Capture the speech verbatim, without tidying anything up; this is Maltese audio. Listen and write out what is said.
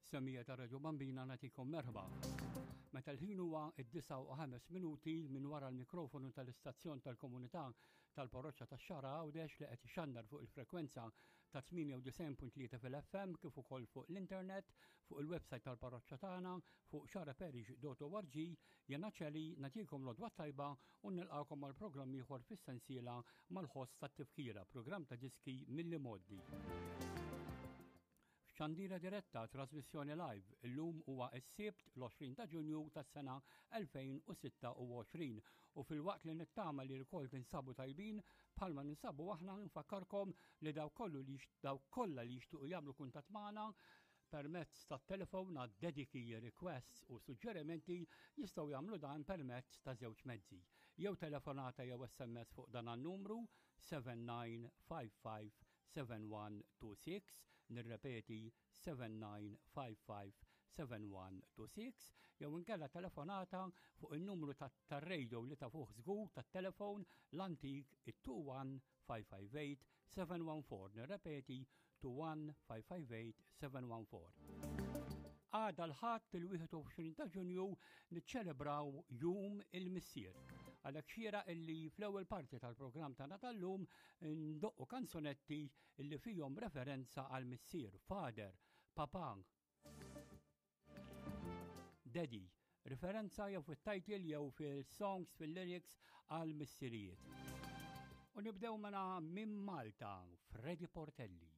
Semmiegħa ta' Radio Bambina, nagħtikom merħba. Meta l-ħin huwa id-disgħa u ħames minuti, minn wara l-mikrofonu tal-istazzjon tal-komunità tal-Parroċċa tax-Xagħra Għawdex, li qed ixandar fuq il-frekwenza ta' tmienja u disgħin punt tlieta fil-F M kif ukoll fuq l-internet fuq il-website tal-parroċċa tagħna fuq xagħraparish punt org, jiena Ċeli nagħtikom l-għodwa tajba u nilqakom għal programm ieħor fis-sensiela Mal-Ħoss tat-Tifkira, programm ta' diski mill-imgħoddi. Xandira diretta, trasmissjoni live, illum huwa s-Sibt l-għoxrin ta' Ġunju tas-sena elfejn u sitta u għoxrin u filwaqt li nittama li lkoll tinsabu tajbin bħalma ninsabu aħna, nfakkarkom li daw kollu li daw kollha li jixtuqu jagħmlu kuntatt magħna permezz ta' telefon għad dediki, requests u suġġerimenti jistgħu jagħmlu dan permezz ta' żewġ mezzi. Jew telefonata jew S M S fuq dan numru seba' tnejn ħamsa ħamsa seba' wieħed tnejn sitta, nirrepeti seba' tnejn ħamsa ħamsa seba' wieħed tnejn sitta, jew inkella telefonata fuq il-numru tar-radio li ta' fuq żgur tat-telefon l-antik, it-tnejn wieħed ħamsa ħamsa tmien seba' wieħed erba', nirrepeti tnejn wieħed ħamsa ħamsa tmien seba' wieħed erba'. Għada l-Ħadd il-wieħed u għoxrin ta' Ġunju niċċelebraw Jum il-Missier. Għalhekk xieraq illi fl-ewwel parti tal-programm tagħna tal-lum ndoqqu kanzunetti illi fihom referenza għal missier, father, papa, daddy, referenza jew fit-title jew fil-songs, fil-lyrics għal missirijiet. U nibdew mela minn Malta, Freddy Portelli.